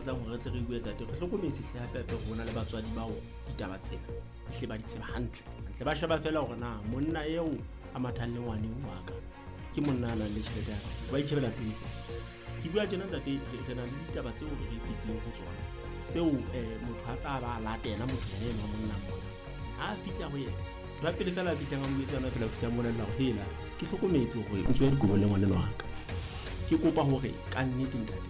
batlang hore re tle re bue tate, re hlokometse hle hape hape hore ho na le batswadi bao ditaba tsena ehle ba di tseba hantle hantle. Ba sheba feela hore na monna eo a mathang le ngwaneng wa ka ke monna a nang le tjhelete ya kae, ba itjhebela pele feela. Ke bua tjena ntate, re na le ditaba tseo re fetileng ho tsona tseo motho a tla ba a latela motho yena enwa monna mona. Ha a fihla ho yena, ntho ya pele feela a fihlang a mo jwetsa yona feela, o fihla a mmolella hore hela ke hlokometse hore o tswa dikobo le ngwanenwa wa ka. Ke kopa hore ka nnete ntate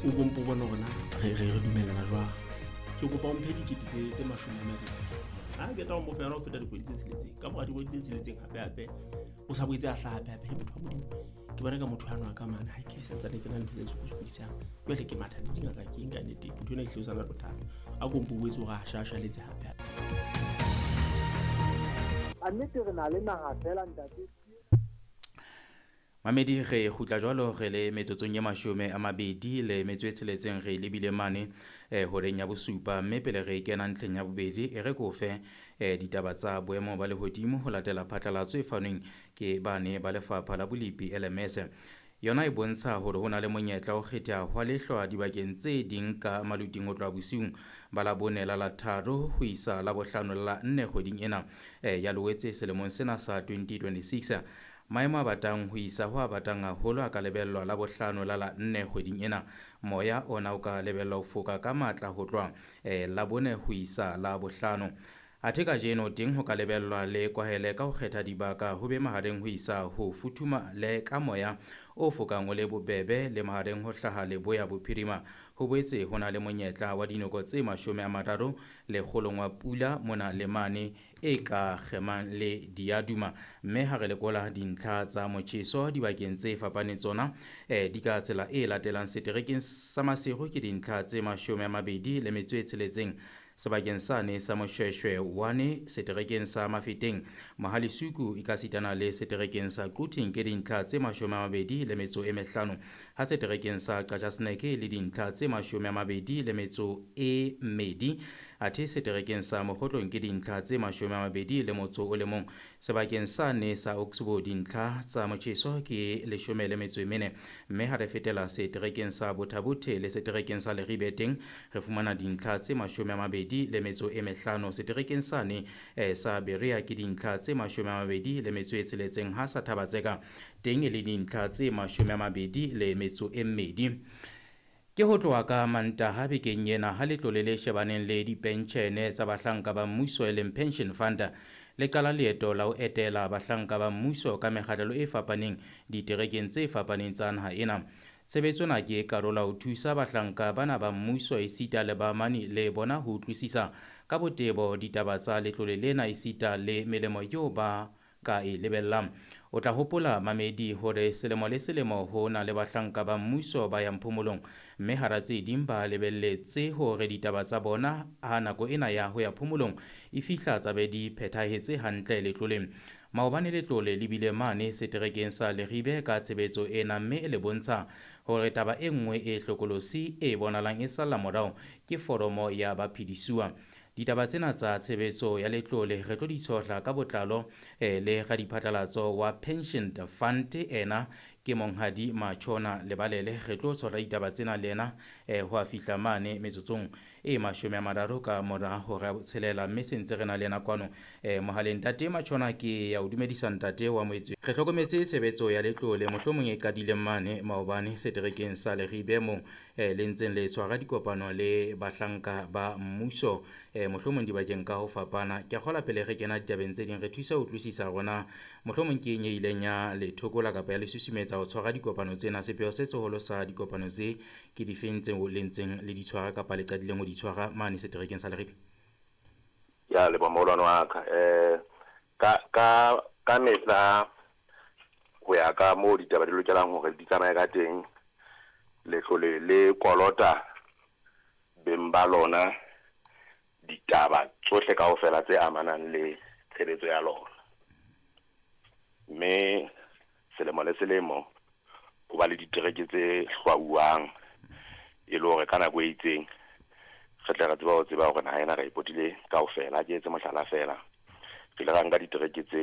o bompo bone hore na re dumellana jwang. Ke kopa o mphe dikete tse 20. Ha ke tla o mo fa yona ho feta dikgwedi tse tsheletseng. Ka mora dikgwedi tse tsheletseng hape hape o sa boetse a hlaha hape hape. Motho wa Modimo, ke bona ka motho ano a ka mane ha ke santsane ke na le ntho tse sokodisang. Jwale ke matha le dingaka ke eng ka nnete, motho ena ehlile o sa na le bothata. A ko mpo boetse hore a shashaletse hape hape. A nnete re na le naha fela ntate. Mamedi, re kgutla jwalo re le metsotsong e 26 re lebile mane horeng ya bosupa, mme pele re kena ntlheng ya bobedi e re kofe ditaba tsa boemo ba lehodimo ho latela phatlalatso e fanweng ke bane ba lefapha la bolepi LMS. Yona e bontsha hore ho na le monyetla o kgetha hwa lehlwa dibakeng tse ding ka maluting ho tloha bosiung ba la bone la la tharo ho isa la bohlano la nne kgweding ena ya Loetse selemong sena sa 2026. Maemo a batang ho isa ho a batang haholo a ka lebellwa la bohlano la la nne kgweding ena. Moya ona o ka lebellwa ho foka ka matla ho tloha la bone ho isa la bohlano. Athe kajeno teng ho ka lebellwa le kwahele ka ho kgetha dibaka ho be mahareng ho isa ho futhuma le ka moya o fokang o le bobebe le mahareng ho hlaha leboya bophirima. Ho boetse ho na le monyetla wa dinoko tse 30 lekgolong wa pula mona le mane e ka kgemang le diaduma. Mme ha re lekola dintlha tsa motjheso dibakeng tse fapaneng tsona di ka tsela e latelang. Seterekeng sa Maseru ke dintlha tse 26, sebakeng sane sa Moshweshwe 1, seterekeng sa Mafeteng, Mohalisuku ekasitana le seterekeng sa Quthing ke dintlha tse 25, ha seterekeng sa Qachaseneke le dintlha tse 22, athe seterekeng sa Mokgotlong ke dintlha tse 21, sebakeng sane sa Oxbow dintlha tsa motjheso ke 14, mme ha re fetela seterekeng sa Botha-Bothe le seterekeng sa Leribe teng re fumana dintlha tse 25, seterekeng sane sa Berea ke dintlha tse 26, ha sa Thaba-Tseka teng e le dintlha tse 22. Ke ho tloha ka Mantaha bekeng ena ha letlole le shebaneng le dipentjhene tsa bahlanka ba mmuso e leng Pension Fund le qala leeto la ho etela bahlanka ba mmuso ka mekgahlelo e fapaneng diterekeng tse fapaneng tsa naha ena. Tshebetso ena ke karolo ya ho thusa bahlanka bana ba mmuso esita le baamani le bona ho utlwisisa ka botebo ditaba tsa letlole lena esita le melemo eo ba ka e lebellang. O tla hopola mamedi hore selemo le selemo ho na le bahlanka ba mmuso ba yang phomolong, mme hara tse ding ba lebelletse hore ditaba tsa bona ha nako ena ya ho ya phomolong e fihla tsa be di phethahetse hantle letloleng. Maobane letlole le bile mane seterekeng sa Leribe ka tshebetso ena, mme le bontsha hore taba e nngwe e hlokolosi e bonahalang e salla morao ke foromo ya baphedisuwa. Ditaba tsena tsa tshebetso ya letlole re tlo di tshohla ka botlalo le radiphatlalatso wa Pension Fund ena ke Monghadi Matshona Lebalele. Re tlo tshohla ditaba tsena le ena ho a fihla mane metsotsong e 30 ka mora hora ya botshelela, mme se ntse re na le ena kwano mohaleng. Ntate Matshona, ke ya o dumedisa ntate wa moetswe. Re hlokometse tshebetso ya letlole mohlomong e qadileng mane maobane seterekeng sa Leribe moo le ntseng le tshwara dikopano le bahlanka ba mmuso mohlomong dibakeng ka ho fapana. Ke a kgolwa pele re kena ditabeng tse ding re thusa ho utlwisisa rona mohlomong ke eng e ileng ya le thokola kapa ya le susumetsa ho tshwara dikopano tsena. Sepheo se seholo sa dikopano tse ke difeng tseo le ntseng le di tshwara kapa le qadileng ho di tshwara mane seterekeng sa Leribe? Ke a leboha moholwane wa ka. Ka mehla ho ya ka moo ditaba di lokelang hore di tsamaye ka teng, letlole le kolota beng ba lona ditaba tsohle kaofela tse amanang le tshebetso ya lona. Mme selemo le selemo ho ba le ditereke tse hlwauwang e le hore ka nako e itseng re tle re tsebe ho tseba hore naha ena re e potile kaofela. Ha ke etse mohlala feela, re ile ra nka ditereke tse